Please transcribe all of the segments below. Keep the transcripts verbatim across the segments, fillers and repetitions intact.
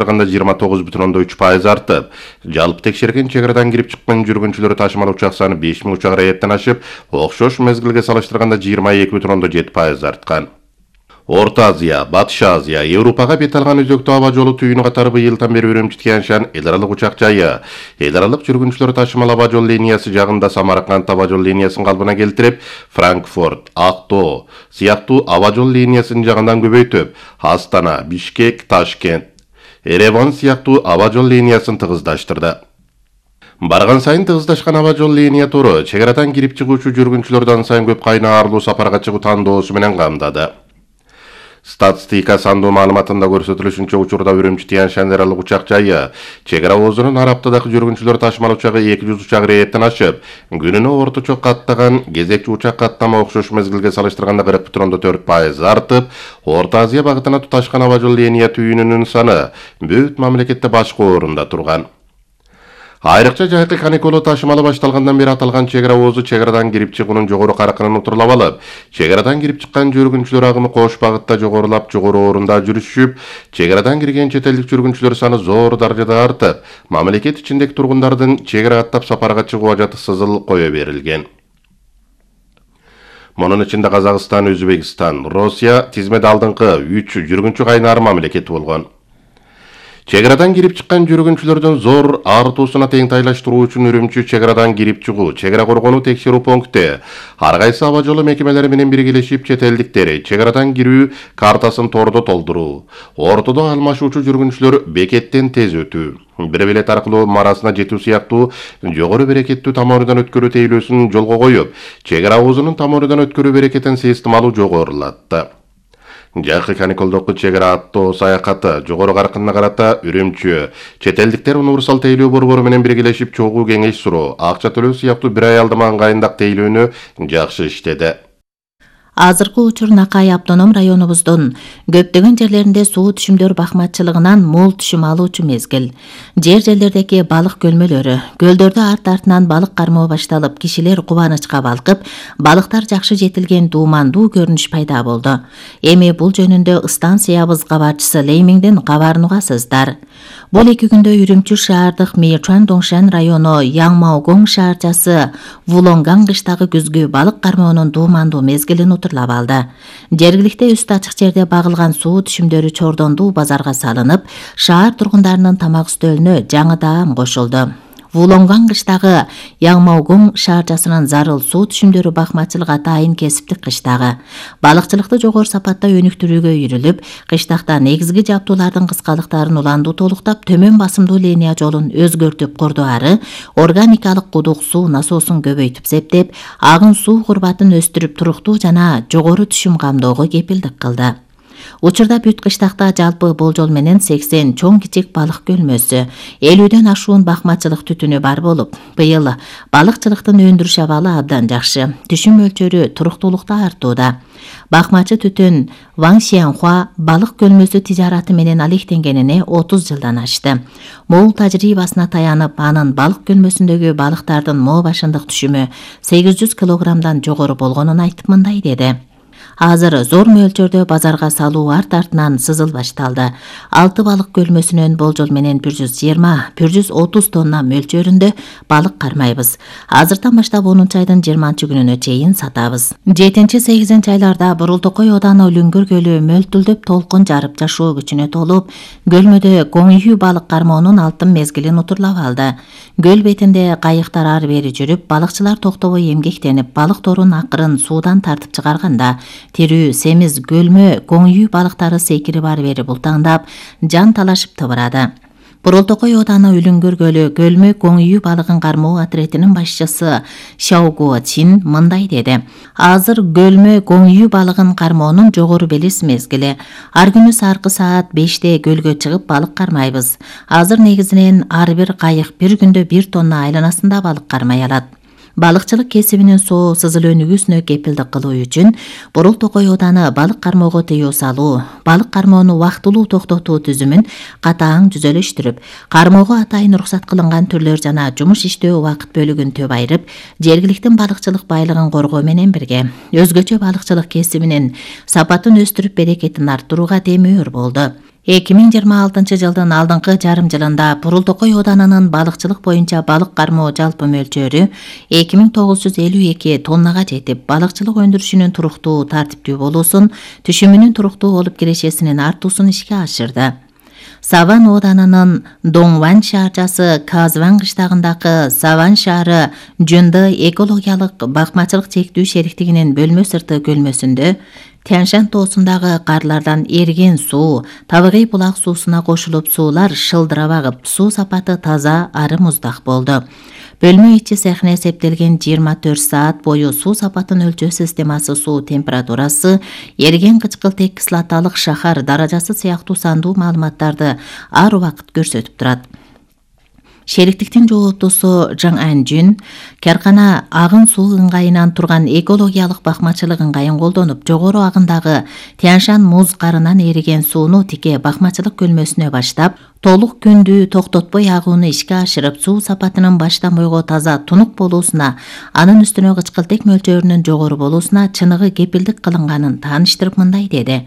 салыштырганда жыйырма тогуз бүтүн ондон үч пайыз артып, жалпы текшерген чек арадан кирип чыккан жүргүнчүлөр ташымал учак саны беш миң учак рейеттен ашып, окшош мезгилге салыштырганда жыйырма эки бүтүн ондон жети пайыз арткан. Орто Азия, Батыш Азия, Европага бет алган өзөктүү аба жолу түйүнү катары быйылдан бери Үрүмчи-Тянь-Шань эл аралык учак жайы, эл аралык жүргүнчүлөр ташымал аба жол линиясы жагында Самарканд аба жол линиясын калыбына келтирип, Франкфурт, Актоо сыяктуу аба жол линиясын жагынан көбөйтүп, Астана, Бишкек, Ташкент, Ереван сыяктуу аба жол линиясын тыгыздаштырды. Барган сайын тыгыздашкан аба жол линия туру чек арадан кирип чыгуучу жүргүнчүлөрдөн сайын көп кайнарлуу сапарга чыгуу тандоосу менен камдады. Статистика сандуу маалыматында көрсөтүлүшүнчө учурда Үрүмчи-Тянь-Шань аралык учак жайы чек ара оозунун араптадагы жүргүнчүлөр ташымал учагы эки жүз учак рейеттен ашып, күнүнө орточо каттаган кезекчи учак каттама окшош мезгилге салыштырганда кырк бүтүн ондон төрт пайыз артып, Орто Азия багытына туташкан аба жол линия түйүнүнүн саны бүт мамлекетте башкы орунда турган. Айрыкча жайкы каникулу ташымалы башталгандан бери аталган чек ара оозу чек арадан кирип чыгуунун жогору каркынын утурлап алып, чек арадан кирип чыккан жүргүнчүлөр агымы кош багытта жогорулап, жогору орунда жүрүшүп, чек арадан кирген чет элдик жүргүнчүлөр саны зор даражада артып, мамлекет ичиндеги тургундардын чек ара каттап сапарга чыгуу ажаты сызыл кое берилген. Мунун ичинде Казакстан, Өзбекстан, Россия тизмеде алдыңкы үч жүргүнчү кайнар мамлекет болгон. Чек арадан кирип чыккан жүргүнчүлөрдүн зор артуусуна тең тайлаштыруу үчүн Үрүмчү чек арадан кирип чыгуу, чек ара коргонуу текшерүү пункти ар кайсы аба жолу мекемелери менен биргелешип чет элдиктер чек арадан кирүү картасын тордо толтуруу, ортодо алмашуучу жүргүнчүлөр бекеттен тез өтүү, бир билет аркылуу марасына жетүү сыяктуу жогору берекеттүү тамырдан өткөрүү тейлөөсүн жолго коюп, чек ара оозунун тамырдан өткөрүү берекетин системалуу жогорулатты. Жакы каникулдук чек ара аттоо саякаты жогору каркынына карата Үрүмчү чет элдиктер универсал тейлөө борбору менен биргелешип чогуу кеңеш суроо, акча төлөө сыяктуу бир аялдама ыңгайындак тейлөөнү жакшы иштеди. Азыркы учур Накай автоном районубуздун көптөгөн жерлеринде суу түшүмдөр бакматчылыгынан мол түшүм алуучу мезгил. Жер жерлердеги балык көлмөлөрү, көлдөрдө арт-артынан балык кармоо башталып, кишилер кубанычка балкып, балыктар жакшы жетилген дуумандуу көрүнүш пайда болду. Эми бул жөнүндө станциябыз кабарчысы Леймиңден кабарын угасыздар. Бул эки күндө Үрүмчү шаардык Мэйчуан-Доңшан району Яңмаогоң шаарчасы Вулонган кыштагы күзгү балык кармоонун дуумандуу мезгилин утурлап алды. Жергиликте үстү ачык жерде багылган суу түшүмдөрү чордондуу базарга салынып, шаар тургундарынын тамак үстөлүнө жаңы даам кошулду. Вулонган кыштагы Яңмаогоң шаарчасынын зарыл суу түшүмдөрү бакмачылык атайын кесиптик кыштагы. Балыкчылыкты жогору сапатта өнүктүрүүгө үйрүлүп, кыштакта негизги жабдуулардын кыскалыктарын уландуу толуктап, төмөн басымдуу линия жолун өзгөртүп курду ары, органикалык кудук суу насоосун көбөйтүп септеп, агын суу курбатын өстүрүп туруктуу жана жогору түшүм камдоого кепилдик кылды. Учурда бүт кыштакта жалпы болжол менен сексен чоң кичик балык көлмөсү, элүүдөн ашуун бакмачылык түтүнү бар болуп, быйыл балыкчылыктын өндүрүш абалы абдан жакшы, түшүм мөлчөрү туруктуулукта артууда. Бакмачы түтүн Ван Сианхуа балык көлмөсү тижараты менен алектенгенине отуз жылдан ашты. Мол тажрыйбасына таянып, анын балык көлмөсүндөгү балыктардын мо башындык түшүмү сегиз жүз килограммдан жогору болгонун айтып мындай деди. Азыр зор мөлчөрдө базарга салуу арт-артынан сызыл башталды. Алты балык көлмөсүнөн болжол менен бир жүз жыйырма — бир жүз отуз тонна мөлчөрүндө балык кармайбыз. Азыртан баштап онунчу айдын жыйырманчы күнүнө чейин сатабыз. жетинчи — сегизинчи айларда Бурултокой ооданы Үлүңгүр көлү мөлтүлдөп толкун жарып жашоо күчүнө толуп, көлмөдө коңюю балык кармоонун алтын мезгилин утурлап алды. Көл бетинде кайыктар ары бери жүрүп, балыкчылар токтобой эмгектенип, балык торун акырын суудан тартып чыгарганда, тирүү, семиз, көлмө, коңюй балыктары секирип ары бери бултаңдап, жан талашып тыбырады. Бурултокой ооданы Үлүңгүр көлү көлмө коңюй балыгын кармоо отрядынын башчысы Шаого Чин мындай деди. Азыр көлмө коңюй балыгын кармоонун жогору белес мезгили. Ар күнү саркы саат беште көлгө чыгып балык кармайбыз. Азыр негизинен ар бир кайык бир күндө бир тонна айланасында балык кармай алат. Балыкчылык кесибинин соо сызыл өнүгүүсүнө кепилдик кылуу үчүн Бурултокой ооданы балык кармоого тыюу салуу, балык кармоону убактылуу токтотуу түзүмүн катаң жүзөлөштүрүп, кармоого атайын уруксат кылынган түрлөр жана жумуш иштөө убакыт бөлүгүн төп айырып, жергиликтин балыкчылык байлыгын коргоо менен бирге өзгөчө балыкчылык кесибинин сапатын өстүрүп берекетин арттырууга демөөр болду. эки миң жыйырма алтынчы жылдын алдыңкы жарым жылында Бурултокой ооданынын балыкчылык боюнча балык кармоо жалпы мөлчөрү эки миң тогуз жүз элүү эки тоннага жетип, балыкчылык өндүрүшүнүн туруктуу, тартиптүү болуусун, түшүмүнүн туруктуу болуп кирешесинин артуусун ишке ашырды. Саван ооданынын Доңван шаарчасы Казван кыштагындагы Саван шаары Жунды экологиялык бакмачылык чектүү шериктигинин бөлмө сырты көлмөсүндө Тяншан тоосундагы карлардан эриген суу табигый булак суусуна кошулуп, суулар шылдырап агып, суу сапаты таза, ары муздак болду. Бөлмө ичи цехине эсептелген жыйырма төрт саат бою суу сапатын өлчөө системасы, суу температурасы, эриген кычкылтек кислоталык шахар даражасы сыяктуу сандуу маалыматтарды ар убакыт көрсөтүп турат. Шериктиктин жооптусу Жаң Анжүн каркана агын суу ыңгайынан турган экологиялык бакмачылык ыңгайын колдонуп, жогору агындагы Тяншан муз карынан эриген сууну тике бакмачылык көлмөсүнө баштап, толук күндү токтотпой агууну ишке ашырып, суу сапатынын баштан бойго таза, тунук болуусуна, анын үстүнө кычкылтек мөлчөрүнүн жогору болуусуна чыныгы кепилдик кылынганын тааныштырып мындай деди.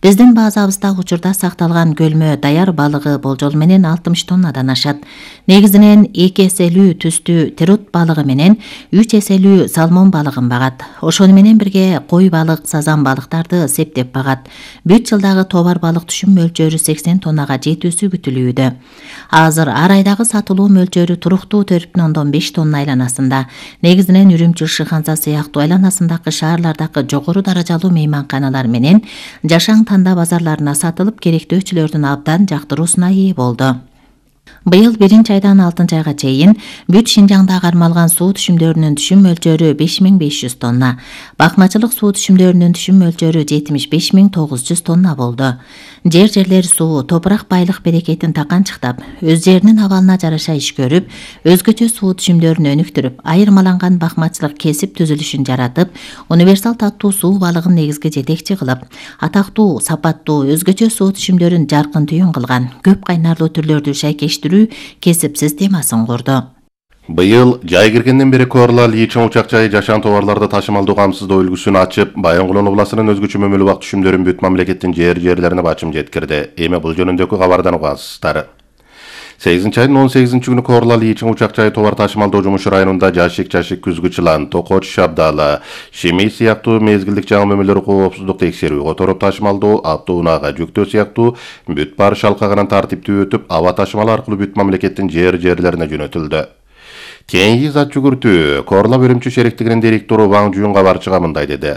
Биздин базабызда учурда сакталган көлмө даяр балыгы болжол менен алтымыш тоннадан ашат. Негизинен эки эселүү түстүү терут балыгы менен үч эселүү салмон балыгын багат. Ошону менен бирге кой балык, сазан балыктарды септеп багат. Бүт жылдагы товар балык түшүм мөлчөрү сексен тоннага жетүүсү күтүлүүдө. Азыр ар айдагы сатылуу мөлчөрү туруктуу төрт бүтүн ондон беш тонна айланасында. Негизинен Үрүмчү, Шыханса сыяктуу айланасындагы шаарлардагы жогору даражалуу мейманканалар менен жашаң танда базарларына сатылып, керектөөчүлөрдүн абдан жактыруусуна ээ болду. Быйыл биринчи айдан алтынчы айга чейин бүт Шинжаңда кармалган суу түшүмдөрүнүн түшүм мөлчөрү беш миң беш жүз тонна, бакмачылык суу түшүмдөрүнүн түшүм мөлчөрү жетимиш беш миң тогуз жүз тонна болду. Жер-жерлер суу, топурак байлык берекетин таканчыктап, өз жеринин абалына жараша иш көрүп, өзгөчө суу түшүмдөрүн өнүктүрүп, айырмаланган бакмачылык кесип түзүлүшүн жаратып, универсал таттуу суу балыгын негизги жетекчи кылып, атактуу, сапаттуу, өзгөчө суу түшүмдөрүн жаркын түйүн кылган, көп кайнарлуу түрлөрдү шайкештирүү кесип системасын курду. Быйыл жай киргенден бери Корла Личиң учак жайы жашан товарларды ташымалдоо камсыздоо үлгүсүн ачып, Баянгулон областынын өзгөчө мөмөлүү убак түшүмдөрүн бүт мамлекеттин жер-жерлерине бачым жеткирди. Эми бул жөнүндөгү кабардан угасыздар. сегизинчи айдын он сегизинчи күнү Корла Личиң учак жайы товар ташымалдоо жумушу районунда жашик, жашик, күзгүчылан, Токоч, Шабдалы, Шемей сыяктуу мезгилдик жаңы мөмөлөр коопсуздук текшерүү, которуп ташымалдоо, автоунаага жүктөө сыяктуу бүт баар шалкагынан тартиптүү өтүп, аба ташымалы аркылуу бүт мамлекеттин жер-жерлерине жөнөтүлдү. Кийинки зат жүгүртүү Корла Үрүмчү шериктигинин директору Ваң Жуюн кабарчыга мындай деди.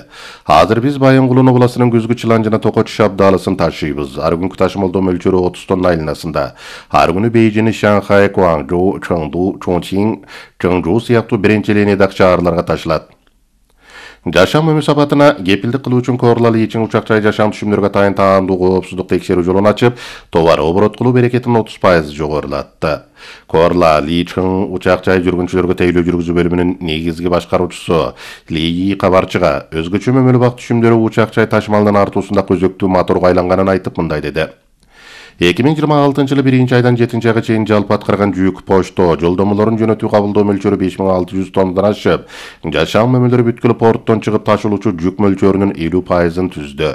Азыр биз Баянгулон областынын Күзгүчылан жана Токоч Шабдалысын ташыйбыз. Ар күнкү ташымалдоо мөлчөрү отуз тонна айланасында. Ар күнү Бейжин, Шанхай, Гуаңжоу, Чоңду, Чоңчиң, Чоңжоу сыяктуу биринчи линиядагы шаарларга ташылат. Жашам мөмө сапатына кепилдик кылуу үчүн Корла Личиң учак жай жашам түшүмдөргө тайын таандуу коопсуздук текшерүү жолун ачып, товар оборот кылуу берекетин отуз пайыз жогорулатты. Корла Личиң учак жай жүргүнчүлөргө тейлөө жүргүзүү бөлүмүнүн негизги башкаруучусу Ли кабарчыга өзгөчө мөмөлүү бак түшүмдөрү учак жай ташымалынын артуусунда өзөктүү моторго айланганын айтып мындай деди. эки миң жыйырма алтынчы жылы биринчи айдан жетинчи айга чейин жалпы аткарган жүк, почто, жолдомолорун жөнөтүү кабылдоо мөлчөрү беш миң алты жүз тоннадан ашып, жашам мөмөлөрү бүткүл порттон чыгып ташылуучу жүк мөлчөрүнүн элүү пайызын түздү.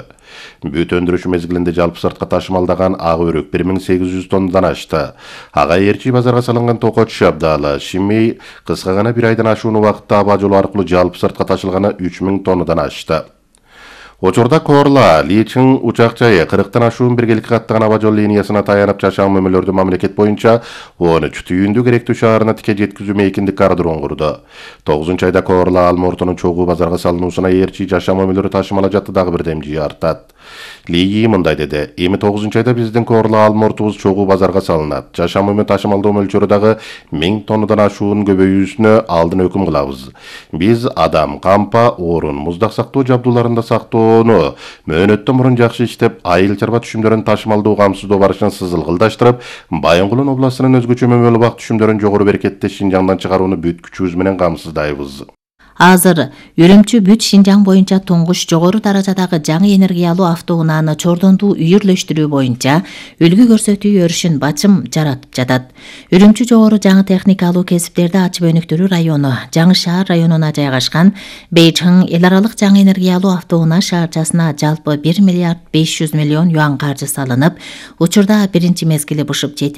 Бүт өндүрүш мезгилинде жалпы сыртка ташымалдаган ак өрүк бир миң сегиз жүз тоннадан ашты. Ага Эрчи базарга салынган Токоч, Шабдалы, Шимей кыска гана бир айдан ашуун убакытта аба жолу аркылуу жалпы сыртка ташылганы үч миң тоннадан ашты. Учурда Корла Личиң учак жайы кырктан ашуун биргеликке каттаган аба жол линиясына таянып жашам мөмөлөрдү мамлекет боюнча он үч түйүндүү керектүү шаарына тике жеткизүү мейкиндик кардырууну курду. тогузунчу айда Корла Алмортонун чогуу базарга салынуусуна Эрчи жашам мөмөлөрү ташымала жаты дагы бир демжи артат. Ли мындай деди. Эми тогузунчу айда биздин Корла Алмортубуз чогуу базарга салынат. Жашам мөмө ташымалдоо мөлчөрү дагы миң тоннадан ашуун көбөйүүсүнө алдын өкүм кылабыз. Биз адам, кампа, орун, муздак сактоо жабдууларында сактоону мөөнөттөн мурун жакшы иштеп, айыл чарба түшүмдөрүн ташымалдоо камсыздоо барышын сызылгылдаштырып, Баянгулон областынын өзгөчө мөмөлүү бак түшүмдөрүн жогору берекетте Шинжаңдан чыгарууну бүт күчүбүз менен камсыздайбыз. Азыр Үрүмчү бүт Шинжаң боюнча туңгуч жогору даражадагы жаңы энергиялуу автоунааны чордондуу үйүрлөштүрүү боюнча үлгү көрсөтүү өрүшүн бачым жаратып жатат. Үрүмчү жогору жаңы техникалуу кесиптерди ачып өнүктүрүү району Жаңы шаар районуна жайгашкан Бейчиң эл аралык жаңы энергиялуу автоунаа шаарчасына жалпы бир миллиард беш жүз миллион юан каржы салынып, учурда биринчи мезгили бышып жетилип